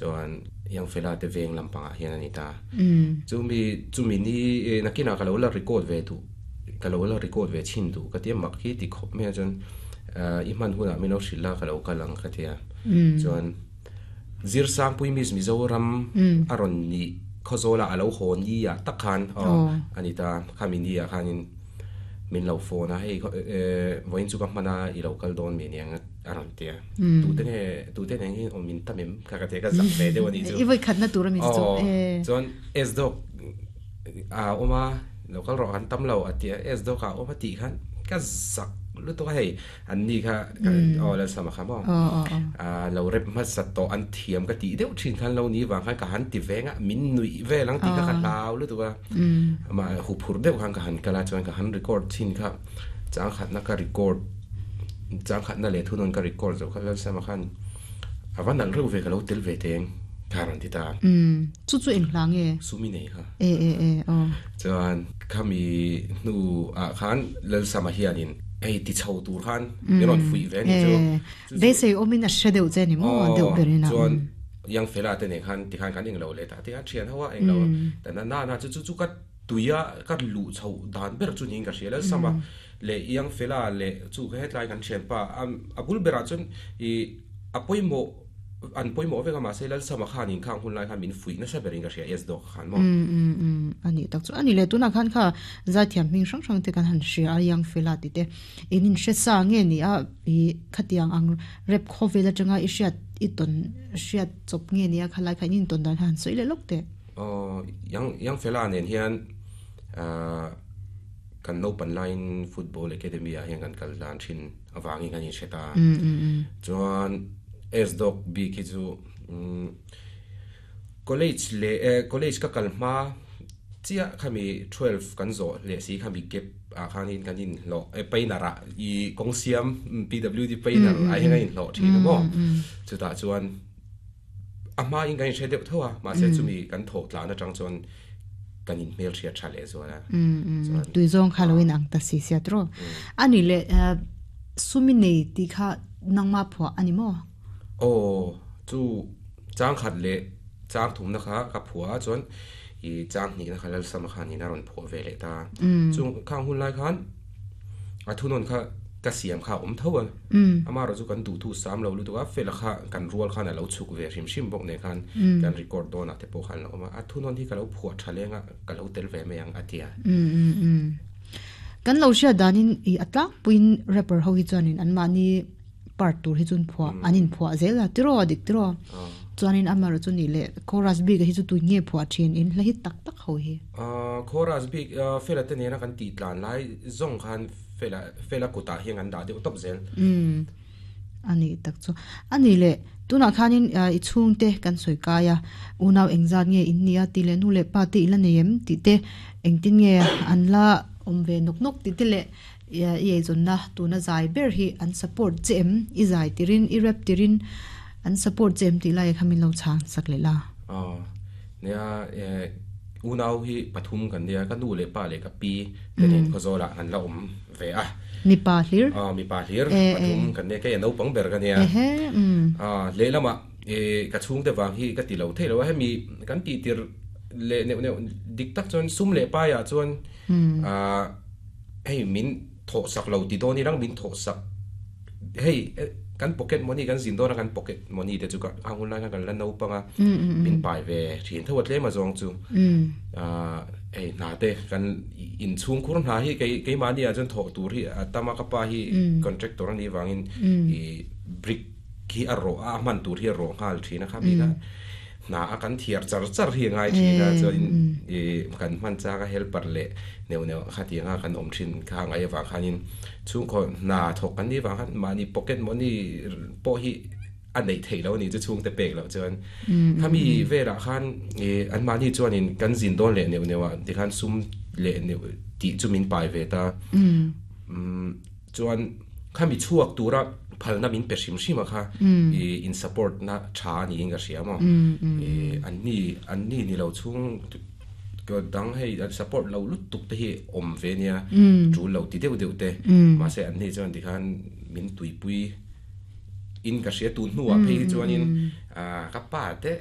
Chuan Young Fella te veng lampangah hian a ni ta. Chumi chumi ni nakinah ka lo la record ve duh ka lo la record ve chhin duh ka tia mak hi ti khawp mai a chuan i hman hunah min lo hrilh la ka lo kal ang ka tia. Chuan Zirsangpui Miss Mizoram a rawn nih Khawzawla a lo haw ni ah tak khan aw a ni ta khami ni ah khanin min lo phone a hei vawiin chu ka hman a i lo kal dawn mi aniang a rawn ti a tute nge tute nen hian awm in tam em kha ka ti a ka zak ve deuh a nih chu i vawi khatna tur a mi chu aw chuan S dawk a awm a lo kal rawh kan tam lo a ti a S dawk ah awm a tih khan ka zak lutuk a hei An ni kha aw Lalsama kha maw lo rep hmasa tawh an thiam ka tih deuh thin khan lo ni vang khan ka han ti veng a min nuih vel ang tih kha ka hlau lutuk a amah huphurh deuh khan ka han kal a chuan ka han record thin kha changkhatna ka record changkhatna leh thunawn ka record zo kha Lalsama khan a va nalh reuh ve ka lo tel ve teng kha a rawn ti ta. Chu chu eng hla nge? Sumi nei kha. Chuan khami hnu ah khan Lalsama hianin Hei ti chho tur khan min rawn fuih ve a ni chu. Beisei awmin a hre deuh che a ni maw deuh berin a. Chuan Young Fella te nen khan tikhan kan englo leh ta tikhan thian ho a englo ta na na chu chu chu ka tuia ka luh chho dan ber chu niin ka hria lalsam a leh Young Fella leh chu hetlai kan thianpa a bul berah chuan ih a pawimawh An pawimawh vek a, mahse Lalsama khan inkhang hun lai khan min fuih nasa berin ka hria, S dawk khan maw? Umm umm umm, a nih tak chu. A nih leh tunah khan kha zaithiam hming hrang hrang te kan han hria a, Young Fella tih te in inhre sa nge ni a, i khatiang ang rap khawvel atanga i hriat i tawn hriat chawp nge ni a, khalai kha in intawn dan kha han sawi leh lawk teh. Aw, Young Young Fella nen hian ahh kan naupan laiin Football Academy ah hian kan kal dan thin avangin kan inhre ta. Chuan S-Dog bik hi chu college leh college ka kal hma chiah khami 12 kan zawh leh si khami gap ah khanin kan inhlawh painter ah i kawng siam PWD painter ah hian kan inhlawh thin a maw chutah chuan A hmain kan inhre deuh tho a, mahse chumi kan thawh tlan atang chuan kan inhmelhriat tha leh zual a. Chuan Tui zawng kha lo in ang ta si sia tiraw. A nih leh sumi nei tih kha nangmah phuah a ni maw? Aw, chu chang khat leh chang thumna kha ka phuah a, chuan i chang hnihna kha Lalsama khanin a rawn phuah ve leh ta. Chung khang hun lai khan A thunawn kha ka siam kha a awm tho a, amaherawh chu kan duhthu sam lo lutuk a, fela kha kan rual khan a lo chhuk ve hrim hrim bawk nen khan kan record dawnah te pawh khan a lo awm a, a thunawn hi ka lo phuah tha leng a, ka lo tel ve mai ang a ti a. Kan lo hriat danin i a tlangpuiin rapper ho hi chuanin anmahni part tur hi chuan phuah an inphuah zel a tiraw a dik tiraw chuanin amaherawh chu nih leh chorus bik hi chu tui nge phuah thin in hla hi tak tak ho hi. Chorus bik Fela te nena kan tih tlan lai zawng khan Fela Fela kutah hian kan dah deuh tawp zel. Umm a nih tak chu. A nih leh tunah khanin i chhungte kan sawi kai a, unau engzat nge in nia tih leh nu leh pa te i la nei em tih te engtin nge an la awm ve nawk nawk tih te leh I eizawnna tuna zai ber hi an support che em? I zai tirin, i rap tirin an support che em tih lai kha min lo chhang sak leh la. Aw, nia unau hi pathum kan nia, ka nu leh pa leh ka pi te nen Khawzawlah an la awm ve a. Mipa hlir? Aw, mipa hlir pathum kan nia, kei a naupang ber ka nia. Aw, lehlamah ka chhungte vang hi ka ti lo thei lo a, hemi kan tih tir leh neuh neuh dik tak chuan sum leh paiah chuan Hei min thawh sak lo ti dawn irang min thawh sak hei kan pocket money kan zin dawn a kan pocket money te chu ka a hun lai khan kan la naupang a min pai ve thin tho a tlem a zawng chu hei hna te kan inchhung khur hna hi kei keimahni ah chuan thawh tur hi a tam a ka pa hi contractor a nih vangin ih brick hi a rawh a a hman tur hi a rawh nghal thin a khami kha Hna a kan thiar char char hi a ngai thin a, chuanin ih kan hman chak a helper leh neuh neuh khatiang a kan awm thin kha ngai avang khanin chhungkaw hna thawk kan nih vang khan mahni pocket money pawh hi a neih theih loh a ni chu chhungte pek loh chuan khami velah khan ih anmahni chuanin kan zin dawn leh neuh neuh ah tikhan sum leh neuh tih chu min pai ve ta Chuan khami chhuak tura phalna min pe hrim hrim a kha i in support na tha a niin ka hria maw. I an ni an ni ni lo chhung dang hei an support lo lutuk te hi awm ve nia tul lo ti deuh deuh te mahse an ni chuan tikhan min tuipui in ka hria tun hnuah phei hi chuanin ka pa te.